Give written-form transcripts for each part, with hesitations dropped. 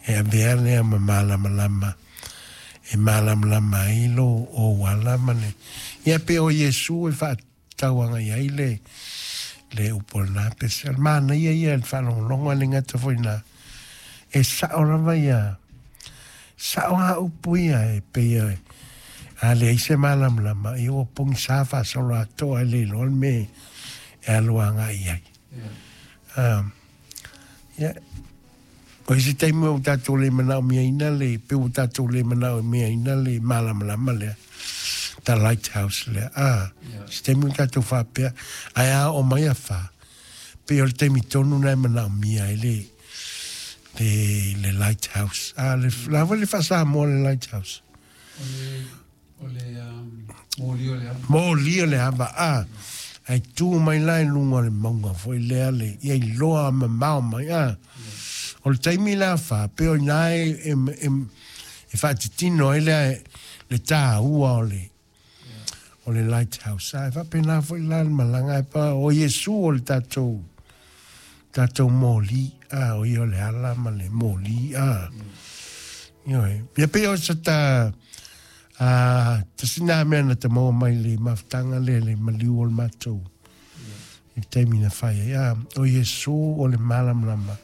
E avea lea ma malamalama e malamalama ai lou auala ma le ia pei o Iesu e faatauaga i ai le le upu o lena pese. O le manaia ia i le faalogologo ae le gata foi i lena, e sao lava ia, sao lava upu ia e pei e a leai se malamalama, ia ua pogisa faasolo atoa e le iloa le mea e alu agai i ai. Ia, o isi taimi ua tatou le manaomiaina le, pei ua tatou le manaomiaina le malamalama lea, the lighthouse lea. Ah, se taimi ua tatou faapea, ae a oo mai afa, pei o le taimi tonu lena e manaomia ai le, le, le lighthouse. Ah, le, la foi le faa-Samoa le lighthouse. O le moli o le ava. Moli o le ava, a. Ae tu mai la i luga o le mauga foi lea le, ia iloa mamao mai, a. O le taimi la fa, pei o i ina e, e, e, e faatitino ai lea le taua o le, o le lighthouse. A, e faapena foi la le malaga, e pa, o Iesu o le tatou, tatou moli, a, o ia o le ala ma le moli, a. Ioe. Ia pei o se ta, a, tasi nā mea na ta maua mai le mafutaga lea le maliu o le matou i le taimi na fai ai. A, o Iesu o le malamalama.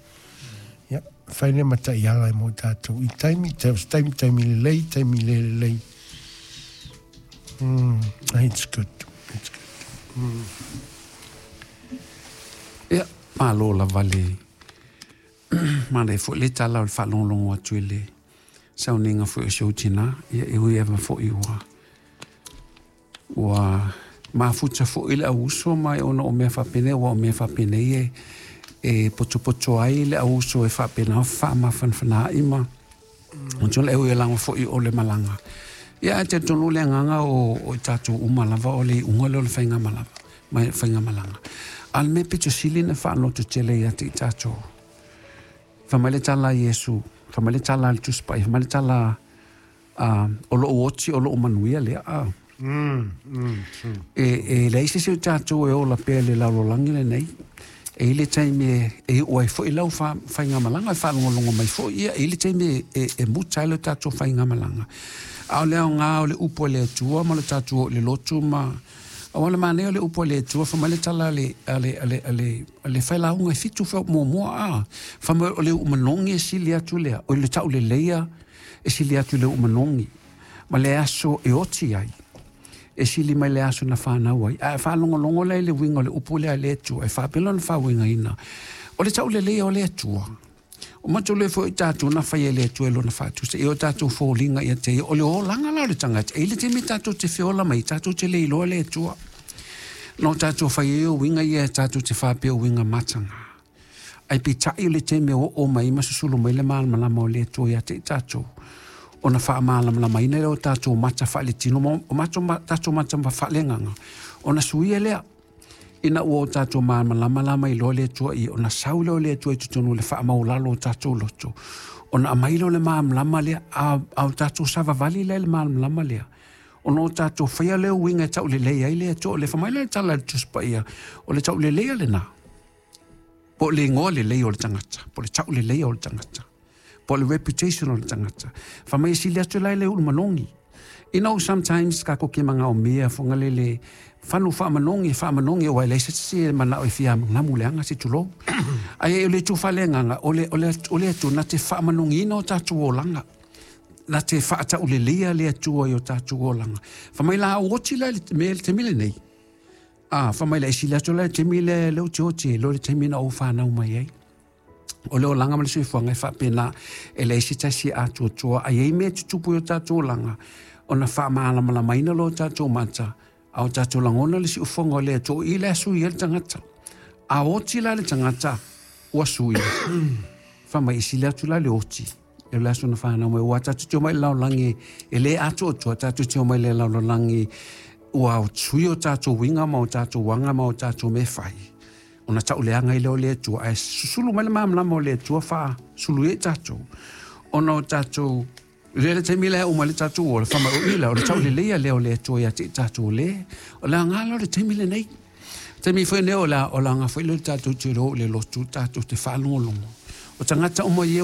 Ia, fai lea ma taiala i mo tatou. I taimi, taimi, taimi lelei, taimi le lelei. It's good. It's good. Ia, malo lava le manaia foi le tala o le faalogologo atu i le sauniga foi o si ou tina. Ia, e ui lava foi ua ua mafuta foi le auuso ma e ona o mea faapenei, aua o mea faapenei e e potopoto ai le auuso e faapena ona faamafanafanaai ma mm. E ui lava foi o le malaga. Ia, ae talitonu le agaga o, o i tatou uma lava o le iuga lea o le faigamalaga, ma faigamalaga. A o le mea pito sili na faaloto tele ia te i tatou. Fai mai le tala a Iesu, fai mai le tala a le Tusi Paia, fai mai le tala a, o lou oti, o lou manuia lea. A. E, e leai se isi o tatou e ola pea i le lalolagi lenei. E i ai le taimi e, e iu ai foi lau fa, faigamalaga, e faalogologo mai foi ia, e i ai le taimi e, e, e muta ai le tatou faigamalaga. A o le aoga o le upu a le Atua ma le tatou oo i le lotu ma aua o le manaia o le upu a le Atua, fai mai le tala a le, a le, a le, a le, a le failauga e fitu muamua, a, fai mai o le uu manogi e sili atu lea, o le tauleleia e sili atu i le uu manogi, ma le aso e oti ai, e sili mai le aso na fanau ai. A e faalogologo la i le uiga o le upu lea a le Atua, e faapea lona faauigaina, o le tauleleia o le Atua. O matou le foi tatou na fai e le Atua i lona faatusa, i o tatou foliga ia te ia, o le olaga la o le tagata. E i ai le taimi tatou te feola mai, tatou te le iloa le Atua. Na o tatou fai ai o uiga ia tatou te faapea o uiga mataga. Ae peitai o le taimi e oo mai ma susulu mai le malamalama o le Atua ia te i tatou, ona faamalamalamaina lea o tatou mata faaletino ma o matou tatou mata faaleagaga, ona suia lea. Ina ua o tatou malamalama la mai loa le Atua ia, ona sau lea o le Atua i totonu o le faamaualalo o tatou loto, ona aumai lea o le malamalama lea, a, a o tatou savavali lea i le malamalama lea, ona o tatou faia lea uiga e taulelei ai le Atua. O le fai mai lea le tala a le Tusi Paia, o le tauleleia lena, po o le igoa lelei o le tagata, po o le tauleleia o le tagata, po o le reputation o le tagata. Fai mai e sili atu la i le ulu manogi. You know, sometimes tatou te manaomia foga le le fanu faamanogi, faamanogi aua e leai se isi e manao e fia namu leaga se tulou. Ae o le itu faaleagaga, o le, o le, o le Atua na te faamanogiina o tatou olaga. Na te faatauleleia le Atua i o tatou olaga. Fai mai la au oti la i le mea i le taimi lenei. A, fai mai la e sili atu la i le taimi lea lea ou te oti ai, lo le taimi na ou fanau mai ai. O le olaga ma le soifuaga e faapena, e leai se tasi e atoatoa, a i ai mea e tutupu i o tatou olaga, ona faamalamalamaina loa o tatou mata, a o tatou lagona le siufofoga o le Atua, o i la e sui ai le tagata. A oti la le tagata, ua sui. Fai mai, e sili atu la le oti i le aso na fanau mai, ua tatou te omai i le lalolagi e le atoatoa, tatou te omai i le lalolagi ua sui o tatou uiga ma o tatou aga ma o tatou mea fai. Ona tauleaga ai lea o le Atua, ae susulu mai le malamalama o le Atua faasulu ai tatou. Ona o tatou, le le taimi lea uma le tatou ola, fai mai o i la, o le tauleleia lea o le Atua ia te i tatou le, o le aoga la o le taimi lenei. Taimi foi lenei o le, o le aoga foi lea o le tatou te o i le lotu, tatou te faalogologo. O tagata uma ia